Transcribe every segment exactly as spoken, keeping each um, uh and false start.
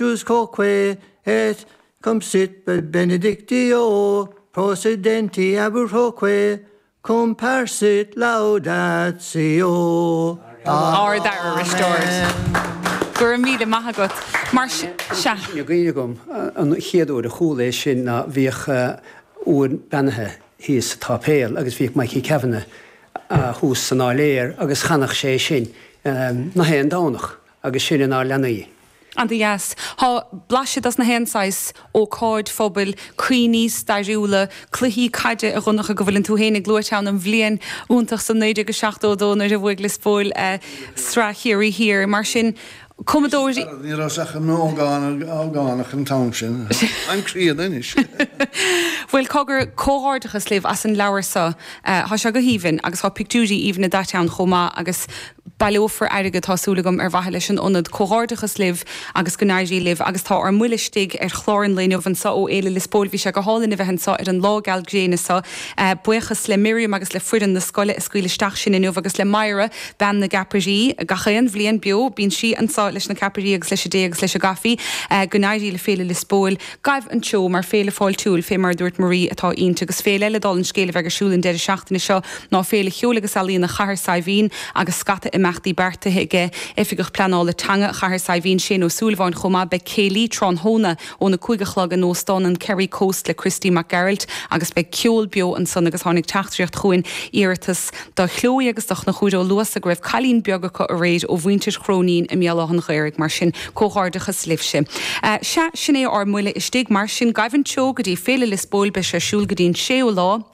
Sanctus quoque et cum sit benedictio procedenti ab utroque cum parsit laudatio. Ard-aire Risteárd. Go raibh míle maith agat. Mar sea. Tá cuimhne agam an chéad uair a chuala é sin ná bhíodh uain beannaithe thíos sa tsáipéal agus bhíodh Mikey Kavanagh thuas san áiléar agus chanadh sé sin nach aon Domhnach agus sin inár leanaí. An-deas. Tá blaiseadh dos na haon saghas ócáid phobail, cuimhní stairiúla, cluichí caide a Dhonncha go bhfuileann tú féin ag luaite ann an bhliain iontach san naoi déag a seachtó a dó nuair a bhuaigh Lios Póil Sraith Chiarraí Thiar. Mar sin, cumadóirí. Ní raibh ach an ógánach an t-am sin. I'm críonna anois. Bhuel, cogar, comhghairdeachas libh as an leabhar seo. Tá sé go haoibhinn agus tá pictiúirí aoibhne daite ann chomh maith agus baileofar airgead, tá súil agam, ar mhaithe leis an ionad. Comhghairdeachas libh agus go n-éirí libh. Agus tá ár mbuille istigh ar chlár an lae inniu anseo ó Fhéile Lios Póil. Bhí sé go hálainn a bheith anseo ar an lá geal gréine seo. Buíochas le Miriam agus le foireann na scoile a scaoil isteach sinn inniu agus le Myra, bean na gceapairí. Gach aon bhliain beo, bíonn sí anseo leis na ceapairí agus leis an dtae agus leis an gcaife. Go n-éirí le Féile Lios Póil. Gabh an treo mar féile fáiltiúil, fé mar a dúirt Marie, atá inti. Agus féile eile dála an scéil a bheidh ar siúl an deireadh seachtaine seo ná Féile Cheoil agus Ealaíona Chathair Saidhbhín agus scata imeachtaí beartaithe aige Oifigeach Pleanála Teanga Chathair Saidhbhín, Shane Ó Súilleabháin chomh maith. Beidh céilí tráthnóna óna cúig a chlog in Óstán an Kerry Coast le Christy Mac Gearailt agus beidh ceol beo ansan agus tháinig teachtaireacht chugainn, iarratas do Chloe agus do Chonchúr Ó Luasa go raibh cailín beag acu aréir ó mhuintir Chróinín i mBéal Átha an Ghaorthaidh. Mar sin, comhghairdeachas libhse. Sea, sin é ár mbuille istigh. Mar sin, gabh an treo go dtí Féile Lios Póil, beidh sé ar siúl go dtí an séú lá.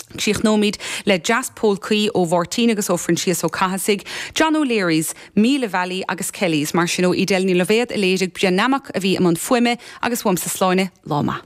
Críochnóimid le Deas Pólcaí ó Mháirtín agus ó Phroinsias Ó Cathasaigh, John O'Leary's, Míle Valley agus Kelly's. Mar sin ó Edel Ní Loibhéad a léirigh, Brian Nammock a bhí i mbun fuaime agus uaimse Sláine, lá maith.